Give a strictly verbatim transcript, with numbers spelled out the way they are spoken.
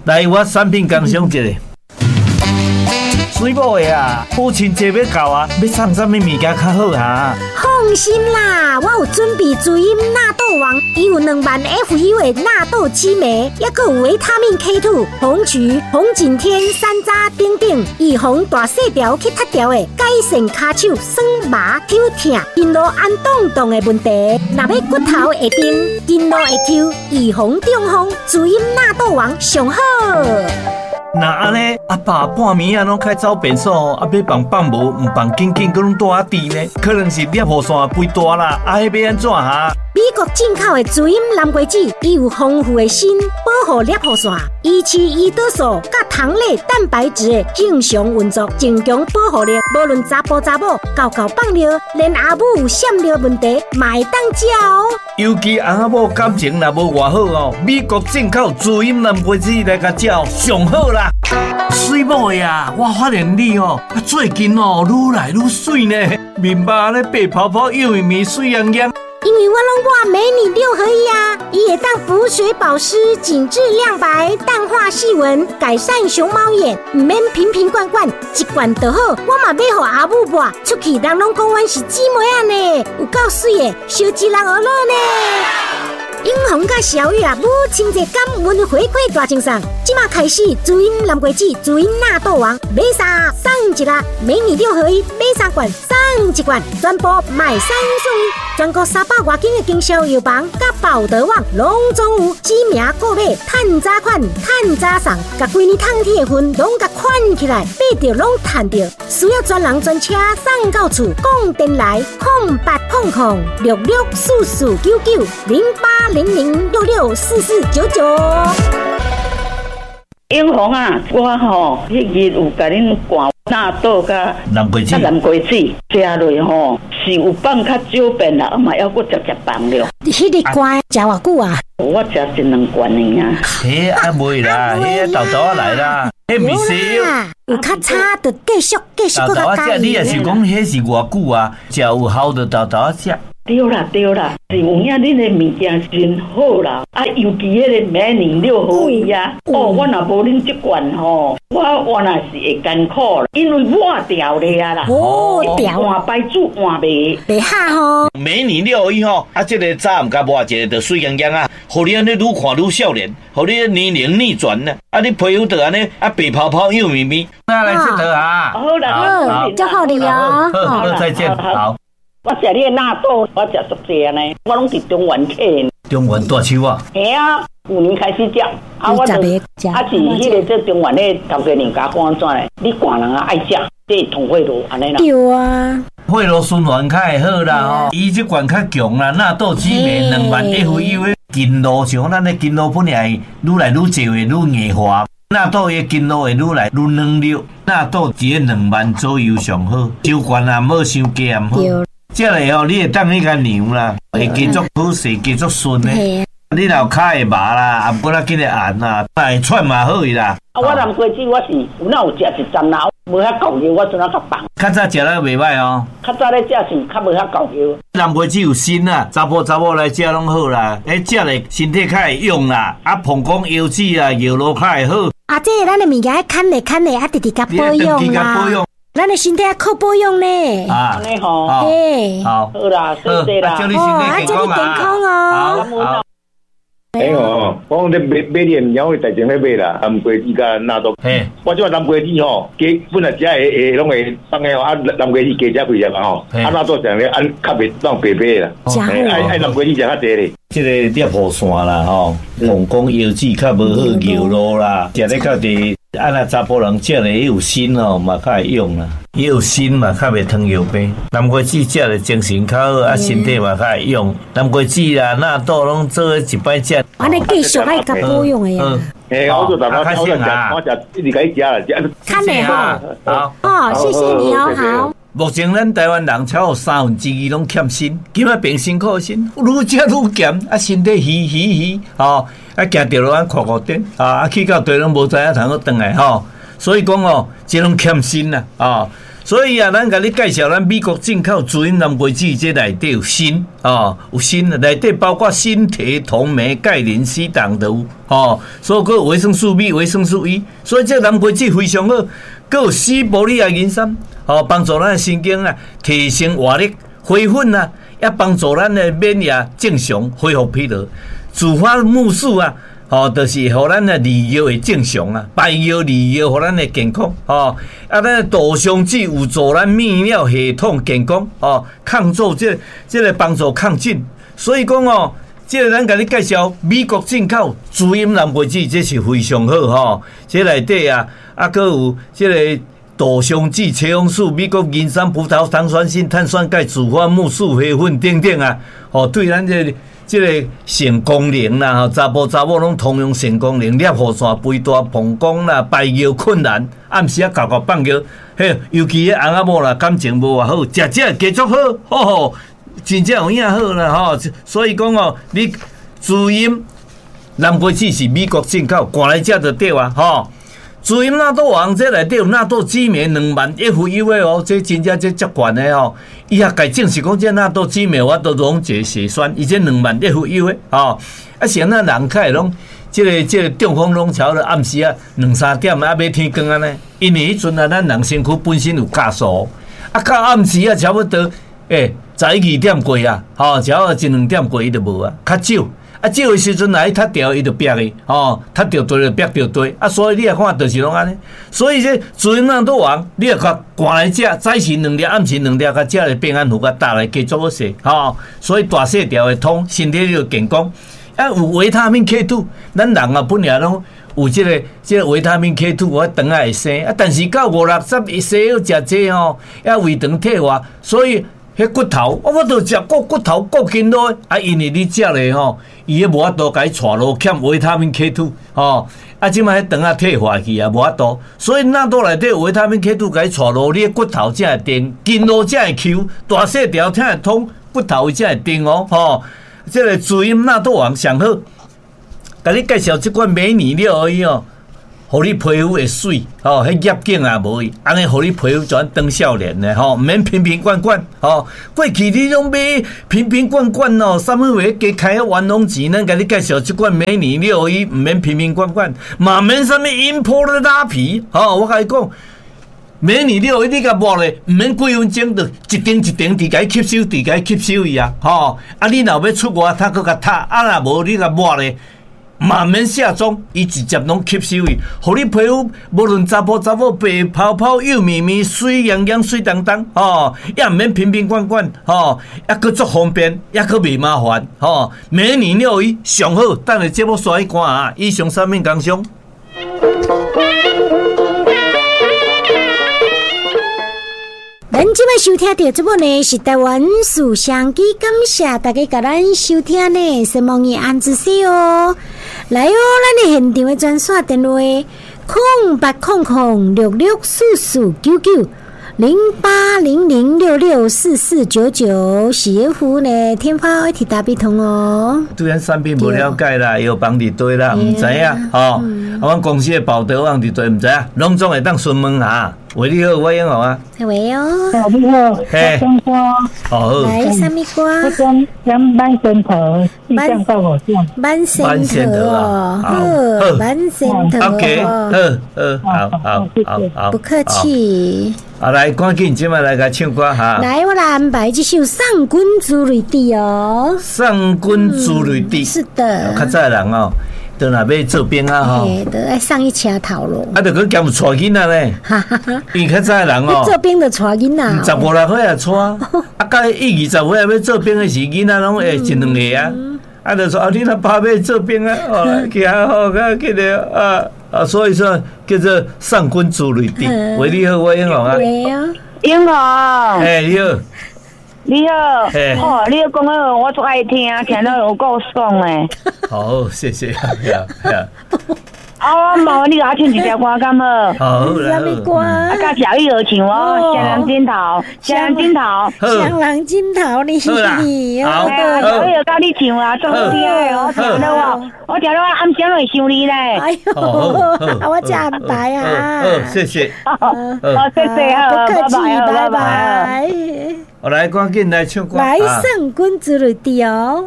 來，我產品工商一下。水某的啊，母親節欲到啊，欲送啥物物件較好啊？放心啦，我有準備滋陰納豆王，伊有兩萬 F U 的納豆激酶，抑閣有維他命 K 二、紅曲、紅景天、山楂等等，預防大細條去脫條的，改善跤手酸麻抽疼、筋路按動動的問題。若欲骨頭會硬，筋路會抽，預防中風，滋陰納豆王上好。若按呢，阿爸半暝仔攏開走便所，啊欲放放無，毋放緊緊，閣攏蹛仔挃呢？可能是攝護腺肥大啦，啊，彼欲按怎哈？美國進口的滋陰南瓜子，伊有豐富的鋅，保護攝護腺，維持胰島素佮糖類蛋白質的正常運作，增強保護力。無論查埔查某，敎敎放尿，連阿母有閃尿問題，嘛會當食哦。尤其翁仔某感情若無偌好哦，美國進口滋陰南瓜子來共食上好啦。水某的啊，我發現你哦，最近哦愈來愈媠呢，面目咧白泡泡、幼綿綿、媠烊烊。因為我攏抹美女六合一啊，伊會當補水保濕、緊緻亮白、淡化細紋、改善熊貓眼，毋免瓶瓶罐罐，一罐就好。我嘛買予阿母抹，出去人攏講阮是姊妹仔呢，有夠媠的，燒一人學樂呢。永紅佮小玉啊，母親節感恩回饋大贈送，這馬開始滋陰南瓜子、滋陰納豆王，買三送一啦，美女六合一買三罐送一罐，全部買三送一，全國三百外間的經銷藥房佮寶德網攏總有，指名購買，趁早款，趁早送，共規年通天的份攏共款起來，買著攏趁著，需要專人專車送到厝，講電來空八空空六六四四九九零八零零六六四四九九。英紅啊，我吼彼日有共恁灌納豆佮南瓜子，南瓜子食落吼是有放較少便啦，嘛猶閣食食放了。彼日灌食偌久啊？我食一兩罐爾。彼啊袂啦，彼沓沓仔來啦，彼毋是西藥。有較差就繼續繼續閣較加。你若是講彼是偌久啊？食有效就沓沓仔食。對啦對啦，是有影恁的物件真好啦，啊，尤其彼個美女六合一啊，哦，我若無恁這罐吼，我原來是會艱苦，因為抹掉了啊啦，哦，掉換牌子換袂袂合吼。美女六合一吼，啊，這個早暗共抹一个就媠烊烊啊，予你按呢愈看愈少年，予你年齡逆轉呢，啊，你皮膚就按呢啊白泡泡幼綿綿。那來這頭啊，好啦，好，祝福你哦，好，再見，好。我食你的納豆，我食足濟呢，我攏佇中原買。中原大樹啊？嘿啊，舊年開始食，啊，我就啊是彼個做中原的頭家娘共我講按怎咧？你寒人啊愛食，這通血路按呢啦。對啊，血路循環較會好啦吼，伊這罐較強啦，納豆激酶兩萬 F U 的筋路，像咱的筋路本來愈來愈濟會愈硬化，納豆的筋路會愈來愈軟弱，納豆一個兩萬左右上好，傷懸也毋好，傷低也毋好。這個哦，你會當去共量啦，會加足好勢，加足順的。你若有跤會麻啦，啊，毋過較緊會按啦，會喘嘛好去啦。啊，我南瓜子我是有哪有食一陣啦，無遐夠藥，我陣仔較放。較早食了袂䆀哦。較早咧食是較無遐夠藥。南瓜子有鋅啊，查埔查某來食攏好啦，欸，食咧身體較會勇啦，啊，膀胱腰子啊，尿路較會好。啊，這個咱的物件愛牽咧牽咧，啊，直直共保養啦。咱的身體愛靠保養呢。啊，按呢吼，嘿，好，好啦，謝謝啦，祝你身體健康哦。好。欸吼，我講咧買買你的物件，我代前咧買啦，南瓜子佮納豆。嘿，我這南瓜子吼，加本來食會會攏會放的吼，啊南瓜子加食幾粒嘛吼，啊納豆上咧按較袂當白白啦。愛愛南瓜子食較濟咧。這個攝護腺啦吼，膀胱腰子較無好，尿路啦，食咧較濟。啊，若查埔人食咧伊有鋅吼，嘛較會勇啦。伊有鋅嘛，較袂糖尿病。南瓜子食咧精神較好，啊，身體嘛較會勇。南瓜子啦、納豆攏做伙一擺食。按呢繼續愛共保養的呀。欸，我做大我食，我食一直共伊食啦，食。看咧吼，好，哦，謝謝你哦，好。目前咱台灣人超過三分之二攏欠鋅，今仔變辛苦鋅，愈食愈鹹，啊，身體虛虛虛，吼，啊，行著路按垮垮點，啊，去到地攏無知影通閣轉來吼，所以講哦，這攏欠鋅啦，啊，所以啊，咱共你介紹咱美國進口滋陰南瓜子，這內底有鋅哦，有鋅內底包括鋅、鐵、銅、鎂、鈣、磷、硒、銅都有吼。所以閣有維生素 B、維生素 E，所以這南瓜子非常好。閣有西伯利亞人參，吼，幫助咱的神經啊提升活力、恢復啊，也幫助咱的免疫正常恢復疲勞。紫花苜蓿啊。吼，就是予咱的利尿會正常啊，排尿利尿，予咱的健康吼。啊，咱的杜松子有助咱泌尿系統健康吼，抗做這這個幫助抗菌。所以講哦，這個咱共你介紹美國進口滋陰南瓜子，這是非常好吼。這內底啊，啊，閣有這個杜松子、茄紅素、美國人參、葡萄糖酸鋅、碳酸鈣、紫花苜蓿、花粉等等啊，吼，對咱這個。這個性功能啦，吼，查埔查某攏通用性功能，尿路線肥大、膀胱啦、排尿困難，暗時啊敎敎放尿，嘿，尤其彼翁仔某啦，感情無偌好，食這加足好，吼吼，真正有影好啦，吼。所以講哦，你滋陰南瓜子是美國進口，趕來食就對啊，吼。滋陰納豆王這內底有納豆激酶兩萬 F U 的哦，這真正這足懸的吼。伊也共證實講，這納豆激酶我都溶解血栓，伊這兩萬 F U 的吼。啊，是按怎人較會攏這個這個中風攏差不多暗時啊兩三點啊欲天光按呢，因為彼陣啊咱人身軀本身有酵素，啊到暗時啊差不多欸十一二點過啊，吼，差不多一兩點過伊就無啊，較少。啊，少的時陣若伊踢著，伊就煏去，吼，踢著地就煏著地。啊，所以你也看，就是攏按呢。所以這滋陰納豆王，你若共趕來食，早時兩粒，暗時兩粒，共食咧平安符，共打來加足好勢，吼。所以大細條會通，身體就健康。啊，有維他命 K two，咱人啊本來攏有這個這個維他命 K two，我腸仔會生。啊，但是到五六十歲要食這吼，抑胃腸退化，所以。彼骨頭，我我都食骨骨頭骨筋落，啊，因為你食咧吼，伊彼無法度共伊帶落欠維他命 K two 吼，啊，這擺彼腸仔退化去啊，無法度，所以納豆內底維他命 K two 共伊帶落，你的骨頭才會定，筋路才會 Q，大細條才會通，骨頭才會定哦，吼，這個滋陰納豆王上好，共你介紹這款美女了而已哦。予你皮膚會媠，吼，彼業景也無去，按呢予你皮膚就按當少年的吼，毋免瓶瓶罐罐，吼。過去你攏買瓶瓶罐罐哦，啥物話加開冤枉錢？咱共你介紹這款美女六合一，毋免瓶瓶罐罐，嘛免啥物音波的拉皮，吼。我共你講，美女六合一你共抹咧，毋免幾分鐘就一層一層佇共伊吸收，佇共伊吸收去啊，吼。啊，你若欲出外，他閣共擦，啊若無你共抹咧。嘛免卸妝，伊直接攏吸收去，予你皮膚無論查埔查某白泡泡、幼綿綿、媠癢癢、媠當當，吼，也毋免瓶瓶罐罐，吼，抑閣足方便，抑閣袂麻煩，吼。美女六合一上好，等下節目煞去看啊！以上產品工商。咱這擺收聽著節目呢，是台灣事相機，感謝大家共咱收聽呢，是望伊安子西哦。來哦，咱的現場的專線電話：空八空空六六四四九九零八零零六六四四九九，是服呢天花一體大必通哦。對咱產品無了解啦，藥房佇佗啦，毋知影吼。啊，阮公司的報道網佇佗，毋知影，攏總會當詢問下。喂，你好，我英豪啊。喂哦。你好。嘿。好。來，啥物歌？我講講慢仙桃，四降到五降。慢仙桃哦，好，慢仙桃。 OK，好，好，好，好，好，不客氣。啊，來，趕緊，這擺來共唱歌哈。來，我來安排這首《送君珠淚滴》哦。送君珠淚滴。是的。較早人哦。都若欲做兵啊吼，都愛送一車頭路。啊，著閣兼有帶囡仔咧，因為較早人哦，做兵就帶囡仔。十五六歲也帶，啊，到一二十歲欲做兵的時，囡仔攏會一兩個啊。啊，就說啊，你若爸欲做兵啊，哦，去啊好，啊，去咧啊啊，所以說叫做送君珠淚滴。喂，你好，我英雄啊。英雄。欸，你好。你好，哦，你講的話我足愛聽，聽了有夠爽的。好，謝謝。啊，我麻煩你共我唱一條歌敢好？好啦。啥物歌？啊，佮小玉學唱哦，雙人枕頭，雙人枕頭。雙人枕頭呢？好。小玉佮你唱啊，足好聽的，我聽了我，我聽了我暗暝會想你咧。哎喲，我這安排啊。好，謝謝。好，謝謝，不客氣，拜拜。我來，趕緊來唱歌。來，送君子的哦。